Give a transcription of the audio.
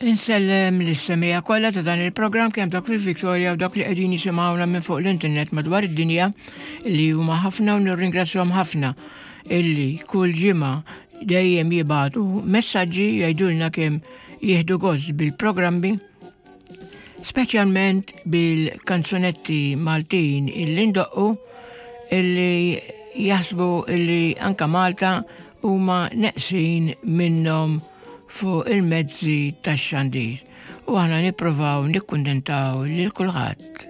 Insellem lis-semija kollha ta' dan il-programm kemm dak fil-Victoria u dak li qegħdin jisimgħuna minn fuq l-internet madwar id-dinja li huma ħafna u nirringrazzjahom ħafna illi kull ġimgħa dejjem jibagħtu messaġġi jgħidulna kemm jieħdu gost bil-programmi speċjalment bil-kanzunetti Maltin illi ndoqqu illi jaħsbu illi anka Malta huma neqsin minnhom fuq il-mezzi tax-xandir u aħna nipprovaw nikkundentaw lil kulħadd.